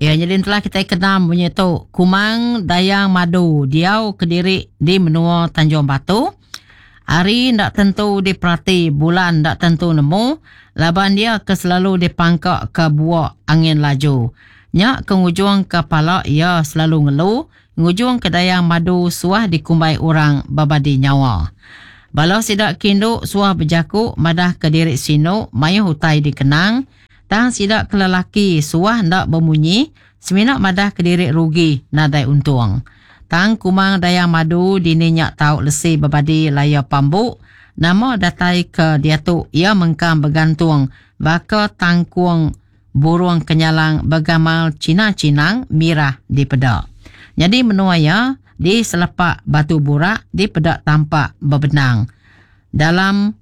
Ya nyadi entelah kitai kena munyi tu Kumang Dayang Madu diau kediri di menua Tanjung Batu. Hari enda tentu diperati bulan enda tentu nemu laban iya ke selalu dipangka ke buok angin laju. Nya ke ngujung ke pala iya selalu ngelu ngujung ke Dayang Madu suah dikumbai orang bebadi nyawa. Bala sida ke indu suah bejaku madah ke diri sinu mayuh utai dikenang tang sida ke lelaki suah enda bemunyi semina madah ke diri rugi nadai untung. Tang Kumang Dayang Madu dini nya tau lesi bebadi laya pambu nama datai ke diatu iya mengkang begantung baka tangkung burung kenyalang begamal chinang-chinang mirah dipeda. Nyadi menua iya di selepak batu burak dipeda tampak bebenang dalam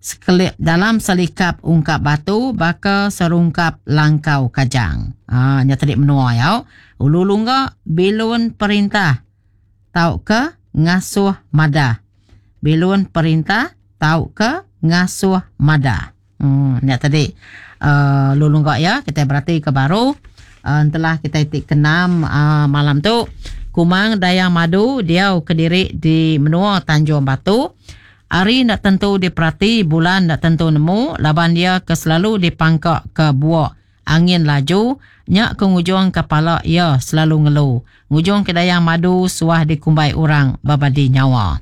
Sekelip dalam selikap ungkap batu baka serungkap langkau kajang. Ha, nya tadi menua ya. Ulu lungga bilun perintah tauka ngasuh madah. Bilun perintah tauka ngasuh madah. Hmm, nya tadi uh, ulu lungga ya kita berati ke baru uh, entelah kita ti kenam uh, malam tu Kumang Dayang Madu diau kediri di menua Tanjung Batu. Hari enda tentu diperati, bulan enda tentu nemu laban iya ke selalu dipangka ke buok angin laju nya ke ngujung ke pala iya selalu ngelu ngujung ke Dayang Madu suah dikumbai orang bebadi nyawa.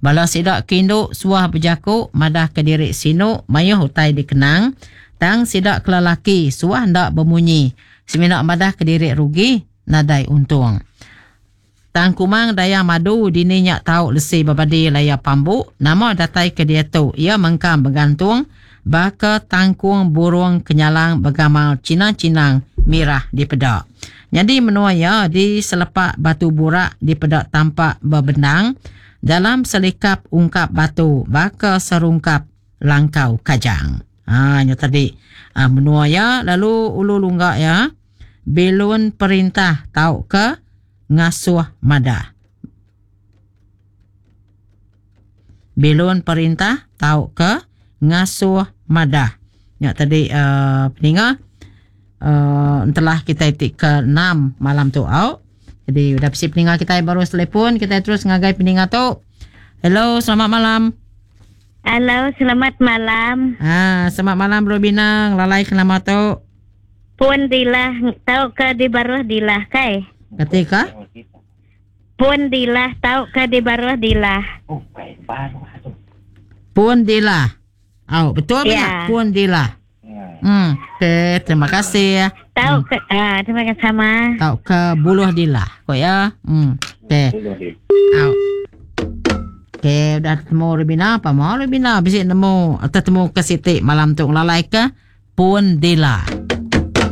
Bala sida ke indu suah bejaku madah ke diri sinu mayuh utai dikenang tang sida ke lelaki suah enda bemunyi semina madah ke diri rugi nadai untung. Tang Kumang Dayang Madu dini nya tau lesi bebadi laya pambu nama datai ke diatu iya mengkang begantung baka tangkung burung kenyalang begamal chinang-chinang mirah dipeda. Nyadi menua iya di selepak batu burak dipeda tampak bebendang dalam selikap ungkap batu baka serungkap langkau kajang. Ha nya tadi menua iya lalu ulu lungga iya bilun perintah tauka ngasuh madah. Bilun perintah tauka ngasuh madah. Nya tadi uh, peninga uh, entelah kita ti ke 6 malam tu au. Jadi udah bisi peninga kita baru telefon kita terus ngagai peninga tu. Hello, selamat malam. Halo, selamat malam. Ah, selamat malam Robina, ngelalai ke nama tu. Pun dilah tauka di baruh dilah kai. Kati ka? Pun dilah tauka di baruh dilah. Pun dilah. Au, betul yeah. Ya. Pun dilah. Hmm, okey, terima kasih. Tauka hmm. ah, terima kasih sama. Tauka buluh dilah, ko ya. Hmm, okey. Au. Okey, udah temu Rubina, apa mau Rubina bisi nemu atau temu ke siti malam tu ngelalai ke Pun Dila.